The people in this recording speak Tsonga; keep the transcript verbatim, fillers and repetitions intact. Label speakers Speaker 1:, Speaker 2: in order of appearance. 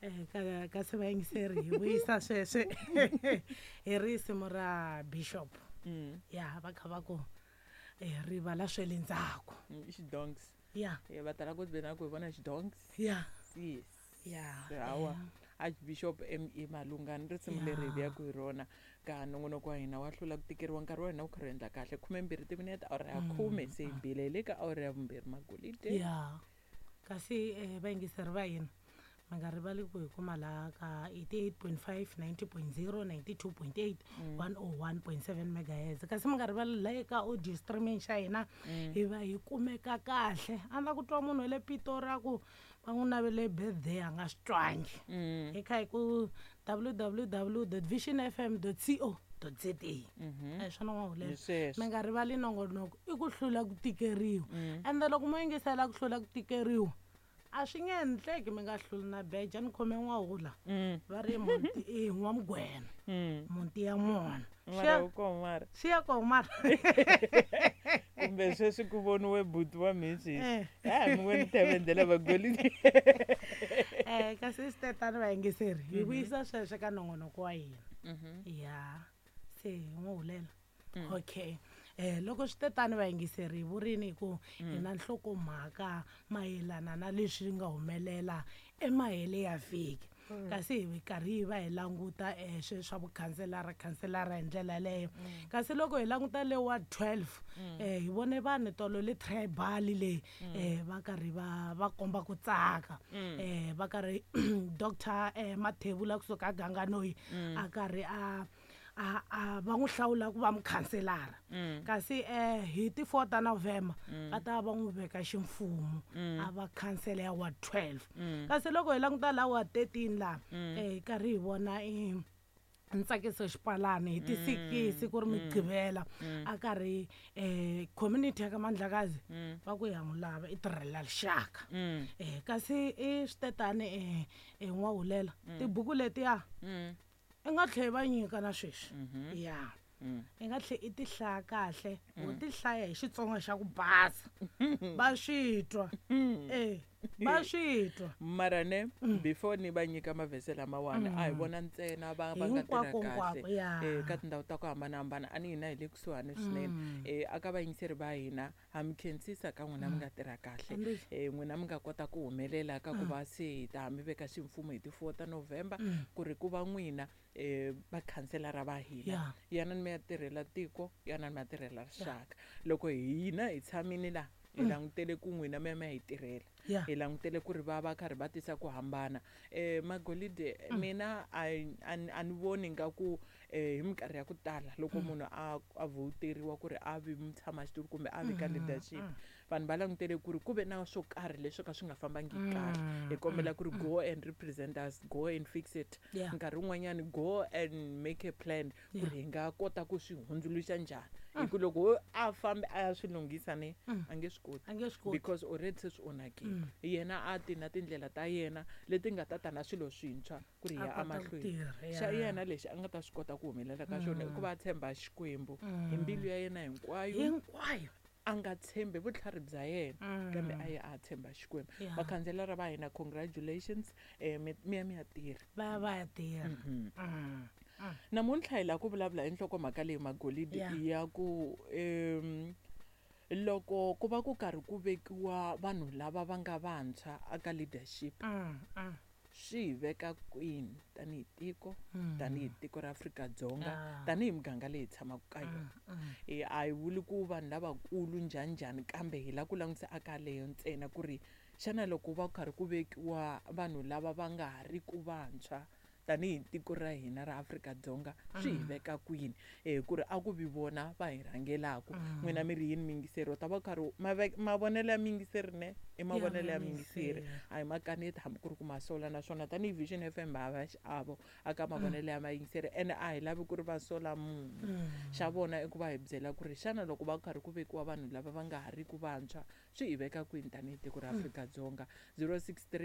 Speaker 1: Eh, ka kasi vayingiseri hi vuyisa sweswe hi risimu ra Bishop.
Speaker 2: Mm.
Speaker 1: Ya va kha va ku eh, rivala swe le ndzhaku.
Speaker 2: Mm, i xidonks.
Speaker 1: Ya.
Speaker 2: Eh, va tala ku vena ku hi vona xidonks.
Speaker 1: Ya.
Speaker 2: Yes.
Speaker 1: Ya.
Speaker 2: Hawa Archbishop M E Malungani risimu leri hi vuyaku hi rona ka nongonoko wa hina wa hlula ku tikeriwa. Nkarhi wa hina wu karhi wu endla kahle, khumembirhi timinete awara ya khume se hi bile hi le ka awara ya vumbirhi magolide.
Speaker 1: Ya kasi eh, vayingiseri va hina mi nga rivali ku hi kuma laha ka eighty-eight point five, ninety point zero, ninety-two point eight, one oh one point seven megahertz. Kasi mi nga rivali laha eka audio streaming xa hina hi va hi kumeka kahle. A na ku twa munhu wa le Pitori a ku va n'wi navele birthday a nga swi twangi. Hi kha hi ku w w w dot vision f m dot c o dot z a. A hi swona n'wahulela.
Speaker 2: Hi sweswo.
Speaker 1: Mi nga rivali nongonoko i ku hlula ku tikeriwa. Ende loko mo yingisela ku hlula ku tikeriwa a swi nge endleki mi nga hluli na beja. Ni khome n'wahula va ri muti i n'wamugwena muti ya mona.
Speaker 2: Mara wu kona mara.
Speaker 1: Swi ya kona mara.
Speaker 2: Kumbe sweswi ku voniwe buti wa mhisi.
Speaker 1: Eh.
Speaker 2: Ha mi voni thevendela vagolide.
Speaker 1: Eh, kasi swi tetani vayingiseri hi vuyisa sweswo ka nongonoko wa hina. Ya se hi n'wi hulela. Okay. Eh, loko swi tetani vayingiseri hi vurini hi ku hi na nhlokomhaka mayelana na leswi nga humelela emahele ya vhiki. Kasi hi karhi hi va hi languta, eh, sweswi swa vukhanselara, khanselara hi ndlela yaleyo. Kasi loko hi languta le wa twelve, eh, hi vone vanhu tolo le tribal leyi, eh, va karhi va, va komba ku tsaka. Eh, va karhi Doctor, eh, Mathebula kusuka Ganganoyi a karhi a, a, a va n'wi hlawula ku va mukhanselara. Kasi, eh, hi ti four ta November va ta va n'wi veka ximfumo a va khansela ya ward twelve. Kasi loko hi languta la ward thirteen la, eh, hi karhi hi vona i Ntsakiso Xipalani hi ti sikisi ku ri Mugqivela a karhi, eh, community ya ka Mandlakazi va ku ya n'wi lava i tirhela rixaka. Eh, kasi i switetani, eh, eh, n'wahulela tibuku letiya i nga tlheli va nyika na sweswi. Ya. I nga tlheli i ti hlaya kahle, u ti hlaya hi Xitsonga xa ku basa. Va swi twa. Eh, va swi twa.
Speaker 2: Mara ne, before ni va nyika mavhese lamawani, a hi vona ntsena va, va nga tirha
Speaker 1: Hinkwako,
Speaker 2: kahle.
Speaker 1: hinkwako, ya.
Speaker 2: Eh, ka tindhawu ta ku hambanahambana, a ni hina hi le kusuhani swinene. Eh, a ka vayingiseri va hina, ha mi khensisa ka n'wina mi nga tirha kahle.
Speaker 1: Hambi.
Speaker 2: Eh, n'wina mi nga kota ku humelela ka ku va se hi ta mi veka ximfumo hi ti four ta November, ku ri ku va n'wina, eh, vakhanselara va hina.
Speaker 1: Ya.
Speaker 2: Yanani mi ya tirhela tiko, yanani mi ya tirhela rixaka. Loko hina hi tshamile la, hi langutele ku n'wina mi ya mi ya hi tirhela.
Speaker 1: Ya.
Speaker 2: Hi langutele ku ri va va karhi va tisa ku hambana. Eh, Magolide, mina a, a, a ni voni nga ku, eh, hi minkarhi ya ku tala loko munhu a, a voteriwa ku ri a vi mutshamaxitulu kumbe a vi ka leadership, vanhu va langutele ku ri ku ve na swo karhi leswi ka swi nga fambangi kahle. Hi kombela ku ri go and represent us, go and fix it.
Speaker 1: Yeah.
Speaker 2: Nkarhi wun'wanyani go and make a plan ku ri hi nga kota ku swi hundzuluxa njhani. Hi ku loko wo a fambi a ya swi lunghisa ne, a nge swi koti.
Speaker 1: A nge swi koti.
Speaker 2: Because already se swi onhakile. Yena a ti na tindlela ta yena leti nga ta ta na swilo swintshwa ku ri hi ya
Speaker 1: A kota ku
Speaker 2: emahlweni.
Speaker 1: tirha,
Speaker 2: Xa
Speaker 1: ya.
Speaker 2: yena lexi a nga ta swi kota ku humelela ka xona i ku va a tshemba Xikwembu hi mbilu ya yena hinkwayo.
Speaker 1: Hinkwayo.
Speaker 2: A nga tshembi vutlhari bya yena, kambe a ya a tshemba Xikwembu.
Speaker 1: Ya.
Speaker 2: Vakhanselara va hina, congratulations, eh, mi, mi ya mi ya tirha.
Speaker 1: Va ya va ya tirha. Mm.
Speaker 2: Namuntlha hi lava ku vulavula hi nhlokomhaka leyi Magolide
Speaker 1: Ya.
Speaker 2: ya ku, em, loko ku va ku karhi ku vekiwa vanhu lava va nga vantshwa aka leadership,
Speaker 1: Mm, mm.
Speaker 2: swi hi veka kwini tanihi tiko, tanihi tiko ra Afrika-Dzonga,
Speaker 1: Ah.
Speaker 2: tanihi muganga leyi hi tshamaka ka yona. Eh, a hi vuli ku vanhu lavakulu njhani njhani, kambe hi lava ku langutisa aka leyo ntsena ku ri xana loko va karhi ku vekiwa vanhu lava va nga ha ri ku vantshwa tanihi tiko ra hina ra Afrika-Dzonga, swi hi veka kwini? Eh, ku ri a ku vi vona va hi rhangelaku. N'wina mi ri yini miyingiseri? U ta va karhi mave-, mavonelo ya miyingiseri ne? I mavonelo ya miyingiseri. A hi makaneti hambi ku ri ku masola, naswona tanihi Vision F M ha va xiavo aka mavonelo ya mayingiseri, ene a hi lavi ku ri va sola munhu. Xa vona i ku va hi byela ku ri xana loko va karhi ku vekiwa vanhu lava va nga ha ri ku vantshwa, swi hi veka kwini tanihi tiko ra Afrika-Dzonga? zero six three